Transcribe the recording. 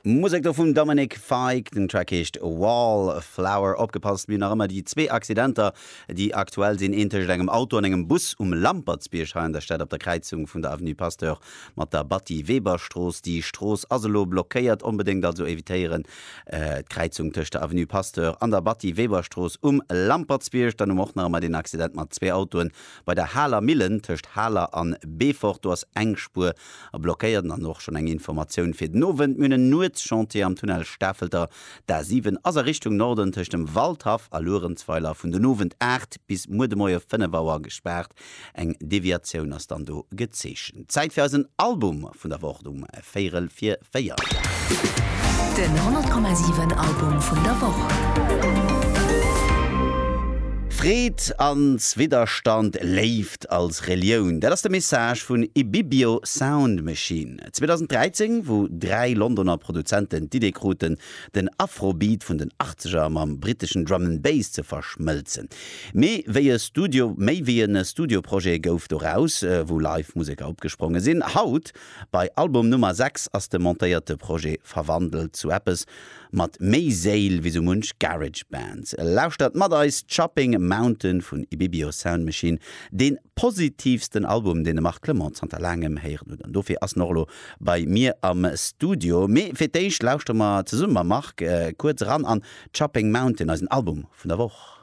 Musek do vum Dominic Fike, den Track heescht Wallflower. Opgepasst, mir hunn nach ëmmer déi zwee Accidenter, déi aktuell sinn, een tëscht engem Auto an engem Bus um Lampertsbierg hei an der Stad op der Kräizung vun der Avenue Pasteur mat der Batty-Weber-Strooss. Déi Strooss ass elo blockéiert, onbedéngt also evitéieren d'Kräizung tëscht der Avenue Pasteur an der Batty-Weber-Strooss um Lampertsbierg. Dann hu mer och nach ëmmer deen Accident mat zwee Autoen bei der Haler Millen tëscht Haler an Beefort. Do ass eng Spuer A blockéiert. An och schonn eng Informatioun fir den Owend, Mir hunn en Nuetschantier am Tunnel Stafelter. D'A 7 ass a Richtung Norden tëscht dem Waldhaff a Luerenzweiler vun den Owend 8 bis muer de Moie 5 Auer gespaart. Eng Deviatioun ass dann do gezeechent. Zäit fir eisen Album vun der Woch um véierel vir 4. Den 100,7 Album vun der Woch. Freed als Widderstand, Léift als Relioun, dat ass de Message vun Ibibio Sound Machine. 2013, wou 3 Londoner Produzenten d'Idee kruten, den Afrobeat vun den Achtzeger mam britteschen Drum and Bass ze verschmëlzen. Méi wéi e Studio, méi wéi e Studioprojet gouf doraus, wou live Museker opgespronge sinn. Haut Bei Album Nummer 6 ass de montéierte Projet verwandelt zu eppes mat méi Séil wéi sou munch Garage Band. Lauschtert mat eis Chopping Mountain vun Ibibio Sound Machine, dee positivsten Album deen de Marc Clement zanter laangem héieren huet an dofir ass en och elo bei mir am Studio. Mee fir d'éischt lauschtere mer zesumme mam Marc kuerz eran an Chopping Mountain, eisen Album vun der Woch.